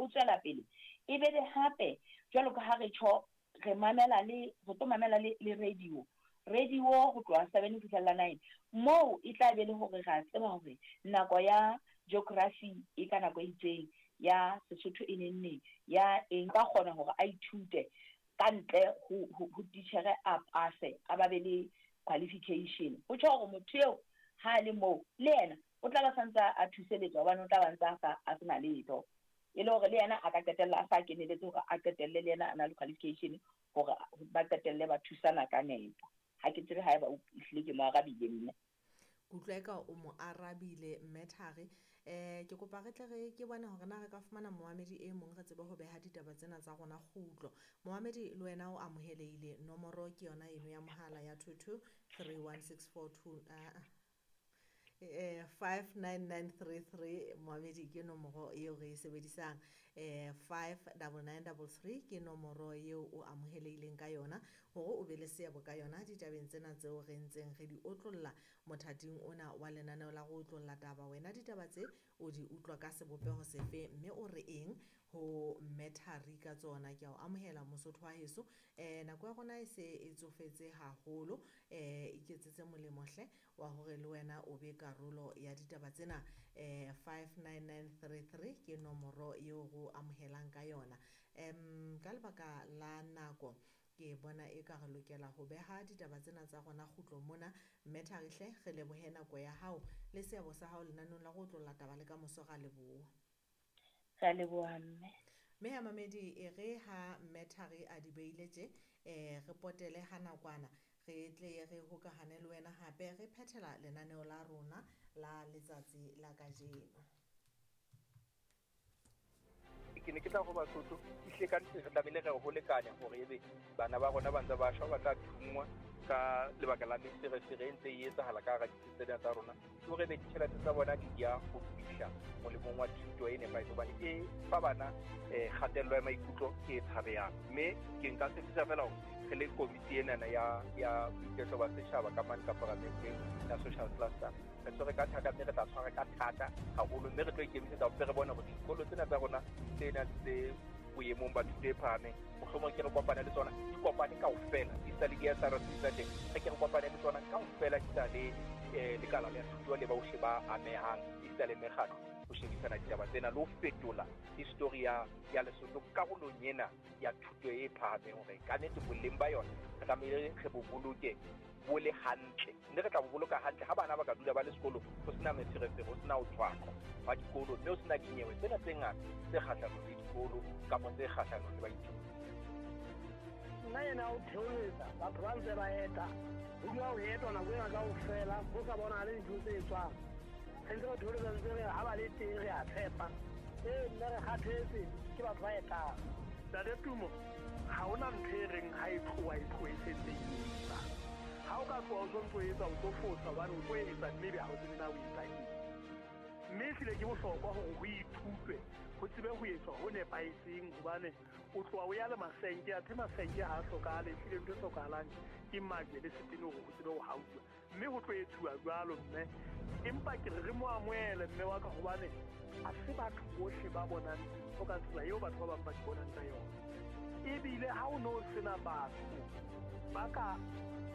tswela pele. E be le hape jwalo ka ha re tjho, re mamela le re tlo mamela le radio. Radio ho tloha 7 ho fihlela 9, moo e tla be le hore ra tseba hore nako ya geography e ka nako e itseng, ya Sesotho e neng neng, ya eng, ka kgona hore a ithute ka ntle ho titjhere, a pase, a ba be le qualification. Ho tjho hore motho eo ha a le moo, le yena o tla ba santse a thuseletswa, hobane o tla ba ntse a sa a sena letho, e le hore le yena a ka qetella a sa keneletse hore a qetelle le yena a na le qualification, hore ba qetelle ba thusana ka nepo. Ha ke tsebe haeba o ehlile ke mo arabile, mme. Ke utlwa eka o mo arabile, mme Thari. Ke kopa re tle re ke bone hore na re ka fumana momamedi e mong, re tsebe ho beha ditaba tsena tsa rona kgutlo. Momamedi, le wena o amohelehile. Nomoro ke yona eno ya mohala ya 2231642, 59933. Momamedi, ke nomoro eo re e sebedisang. 59933 ke nomoro eo o amohelehileng ka yona hore o be le seabo ka yona ditabeng tsena tseo re ntseng re di otlolla mothating ona wa lenaneo la go otlolla taba. Wena ditaba tse o di utlwa ka sebopeho sefe, mme o re eng ho mme Thari ka tsona? Ke a o amohela, Mosotho wa heso. Nako ya rona e se e tsofetse haholo. Iketsetse molemo hle wa hore le wena o be karolo ya ditaba tsena. 59933 ke nomoro eo go amohelang ka yona. Ka lebaka la nako, ke bona e ka re lokela ho beha ditaba tsena tsa rona kgutlo mona. Mme Thari hle, re lebohe nako ya hao le seabo sa hao lenaneong la go otlolla taba. Le ka moso, ra leboha. Re a leboha, mme. Mme ya mamedi, e re ha mme Thari a di beile tje, re potele ha nakwana, re tle re hokahane le wena hape, re phethela lenaneo la rona la letsatsi la kajeno. Ke ne ke tla go Basotho, ehlile ka nnete re tlamehile re ho lekane hore ebe bana ba rona ba ntse ba shwa, ba tla thunngwa ka lebaka la meferefere e ntse e etsahala ka hara ditsi tsena tsa rona, ke hore ebe ditjhelete tsa bona di ya ho fihla molemong wa thuto e nepahetseng, hobane e fa bana kgatello ya maikutlo e tshabehang. Mme ke nka tshepisa fela hore re le komiti enana ya boiketlo ba setjhaba ka mane ka paramenteng ya social cluster, re tshwere ka thata, mme re tla tshwara ka thata haholo, mme re tlo ikemisetsa hore re bone hore dikolo tsena tsa rona tse nang tse boemong ba thuto e phahameng, mohlomong ke re kopane le tsona, di kopane kaofela, di sa le di-SRC tsa teng, re ke re kopane le tsona kaofela, di sa le lekala la thuto le bohle ba amehang, esita le mekgatlo, ho shebisana ditaba tsena le ho fetola history ya Lesotho karolong ena ya thuto e phahameng, hore ka nnete boleng ba yona re tlamehile re bo boloke bo le hantle, mme re tla bo boloka hantle ha bana ba ka dula ba le sekolo, ho sena meferefere, ho sena ho tshwaqwa hwa dikolo, mme ho sena dinyewe tsena tse ngata tse kgahlanong le dikolo kapa tse kgahlanong le baithuti. Nna ena o theoletsa batho ba ntse ba eta, ho dula ho etwa nako ena kaofela, ho sa bonahale dintho tse etswang. Re ntse re theoletsa, ntse re ha ba le teng, re a tshepa. Ee mme, re kgathetse ke batho ba etang. Ntate Tumo, ha hona ntho e reng ha e tloha e tlohe e sentse e etsa. Ha o ka tloha o sontso o etsa, o tlo fosa, hobane o tlo etsa mme ebe ha o tsebe na o etsa eng. Mme ehlile ke bohlokwa hore ho ithutwe, ho tsebe ho etswa ho nepahetseng, hobane o tloha o ya le masenke, athe masenke ha a hlokahale. Ehlile ntho e hlokahalang ke majwe le setene hore ho tsebe ho hauwa, mme ho tlo etsuwa jwalo, mme. Empa ke re re mo amohele mme wa ka, hobane ha se batho bohle ba bonang dintho ka tsela eo batho ba bang ba di bonang ka yona. Ebile ha o no sena batho ba ka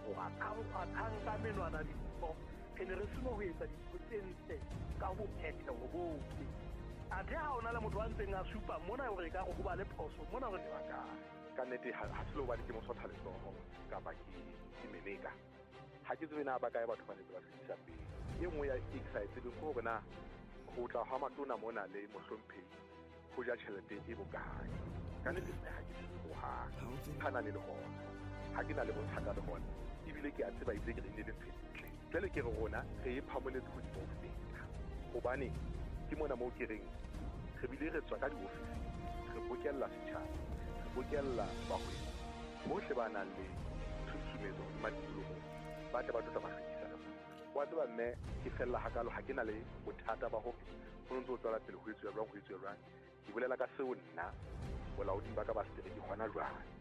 kgwathang ka menwana dintho, re ne re seno ho etsa dintho tse ntle ka ho phetheho bohle. Athe ha ona le motho a ntseng a supa mona hore ekare ho ba le phoso mona hore ka nnete ha se le hobane ke mosotha letsoho kapa ke meleka. Ha ke tsebe na ba kae batho ba netse ba fetisa pele. E nngwe ya e ke sa e tsebeng ke hore na ho tla hwa matona mona le mohlomphehi ho ja tjhelete e bokae. Ka nnete mme ha ke tsebe hohang. Ha na le hona, ha ke na le bothata le hona, ebile ke a tseba, ebile ke re ile le ntho e ntle. Jwale ke re rona re e phamoletse hodimo ho feta, hobane ke mona moo ke reng re bile re tswa ka diofising, re bokella setjhaba, re bokella bahwebi bohle ba nang le tshusumetso hodima tikolohong, ba tle ba tlo tla ba hlwekisa re mona. Wa tseba mme, ke fella hakalo, ha ke na le bothata ba hore ho ntse ho tswela pele ho etsuwa jwang, ho etsuwa jwang. Ke bolela ka seo nna bolaoding ba ka ba setereke hona jwale.